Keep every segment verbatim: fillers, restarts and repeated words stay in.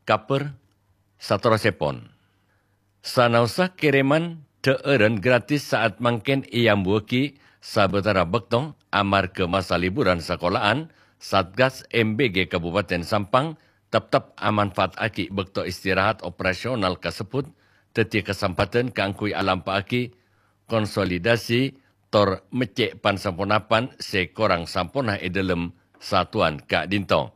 Kabhâr saterrossèpon. Sanaossa kèrèman dhâ'ârân gratis sa'at mangkèn èambuwâghi sabâtara bâkto amarghâ masa liburan sakola'an, Satgas M B G Kabupaten Sampang teptep amanfaataghi bâkto istirahat operasional kasebbhut dhâddhi kasempadhân kaangghuy alampa'aghi konsolidasi tor meccè' pan-saponapan sè korang samponna è dhâlem satuan ka'dinto.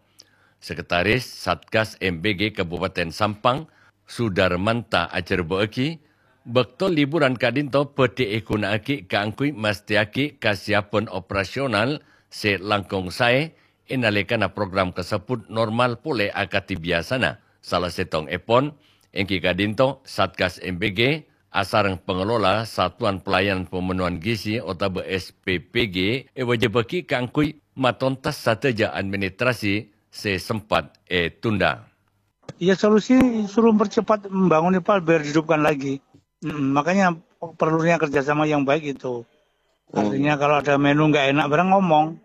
Sekretaris Satgas M B G Kabupaten Sampang, Sudarmanta ajhârbâ'âghi, bâkto liburan ka'dinto bhâdhi èghuna'aghi kaangghuy mastèyaghi kasiyapan operasional sè langkong saè è nalèkana program kasebbhut normal polè akadhi biyasana. Sala sèttongngèpon èngghi ka'dinto Satgas M B G asareng pangelola Satuan Pelayanan Pemenuhan Gizi otabâ S P P G èwâjibhâghi kaangghuy matontas sadhâjâ administrasi sè sempat ètunda. Ya, solusi suruh mempercepat membangun ipal biar dihidupkan lagi. Mm, makanya perlunya kerjasama yang baik itu. Artinya kalau ada menu nggak enak barang ngomong,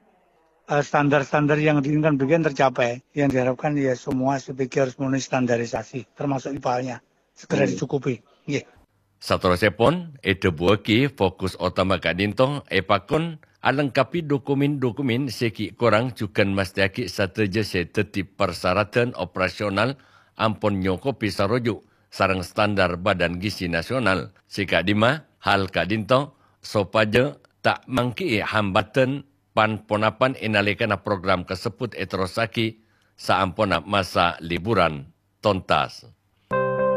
eh, standar-standar yang diinginkan bagian tercapai. Yang diharapkan ya semua S P P G harus memenuhi standarisasi, termasuk ipalnya. Segera dicukupi. Nggih. Saterrossèpon, èdhâbuwâghi fokus otama ka'dinto èpakon alengkapè dokumen-dokumen sè ghi' korang jhughân mastèyaghi sadhâjâ sè dhâddhi parsaradhân operasional ampon nyokobhi saroju' sareng standar Badan Gizi Nasional. Sè ka'dimma, hal ka'dinto sopajâ ta' mangghi'i hambâdhân pan-ponapan è nalèkana program kasebbhut èterrossaghi saamponna masa liburan tontas.